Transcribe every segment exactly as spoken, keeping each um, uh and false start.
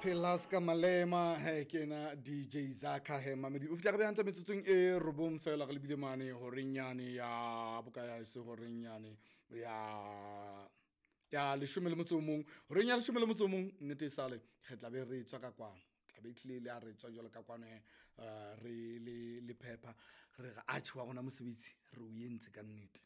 Phelaska Malema he ke ena D J Zaka he mamedi o fitla re be hantle metsotsong e robong fela re lebile mane horeng yane ya boka ya se horeng yane ya ya leshome le motso o mong horeng ya leshome le motso o mong nnete e sale re tla be re tswa ka kwano tla be tlile le a re tswa jwalo ka kwano he re le le phepha re re atjhe wa rona mosebetsi re o entse ka nnete.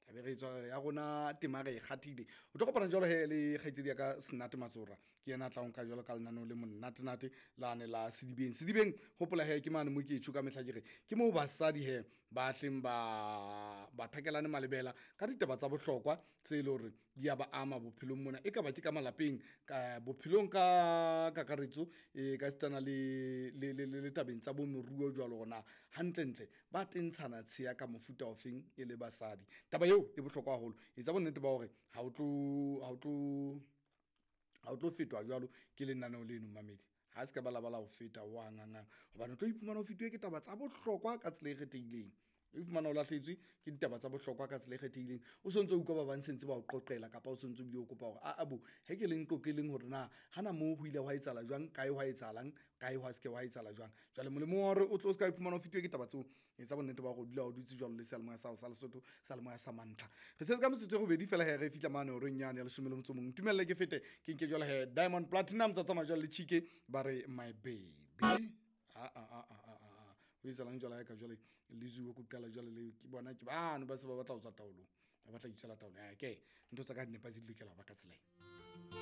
Tlabe re tswa ya rona tema re e kgathile. O tlo kopana jwalo he le kgaitsedi ya ka Senate Matsora ke yena a tla nka jwalo ka lenaneo le monnatenate lane la Sedibeng. Sedibeng hopola he ke mane mo ke tjho ka mehla ke re ke moo basadi he ba hleng ba ba thakelane malebela ka ditaba tsa bohlokwa tse leng hore di a ba ama bophelong mona e ka ba ke ka malapeng ka bophelong ka kakaretso e ka sitana le le le le tabeng tsa bo moruo jwalo hore na hantlentle ba tentshana tsheya ka mofuta ofeng e le basadi. Taba eo e bohlokwa haholo etsa bonnete ba hore ha o tlo ha o tlo ha o tlo fetwa jwalo ke lenaneo leno mamedi ha se ka ba la ba la ho feta wa hanghang hobane o tlo iphumana o fetuwe ke taba tsa bohlokwa ka tsela e kgethehileng. O iphumana o lahlehetswe ke ditaba tsa bohlokwa ka tsela e kgethehileng o sontso o utlwa ba bang sentse ba o qoqela kapa o sontso ebile o kopa hore a bo he ke leng qoqeleng hore na hana moo ho ile hwa etsahala jwang kae hwa etsahalang kae hwa se ke hwa etsahala jwang. Jwale molemong wa hore o tlo se ka iphumana o fetuwe ke taba tseo etsa bonnete ba hore o dula o dutse jwalo le seyalemoya sa hao sa Lesotho seyalemoya sa mantlha. Re setse ka metsotso e robedi fela he re fihla mane horeng yane ya leshome le motso o mong. Ntumelle ke fete ke nke jwalo he Diamond Platinum tsa tsamaya jwalo le Chike ba re my baby. Ah ah ah ah ah ah. O etsahalang jwale ha ka jwale le zuwe ko qala jwale le ke bona ke bano ba se ba batla ho tswa taolong. Ba batla ho itswela taolong. Ke ntho tsa ka di nepahetse di lokela ho ba ka tsela ena.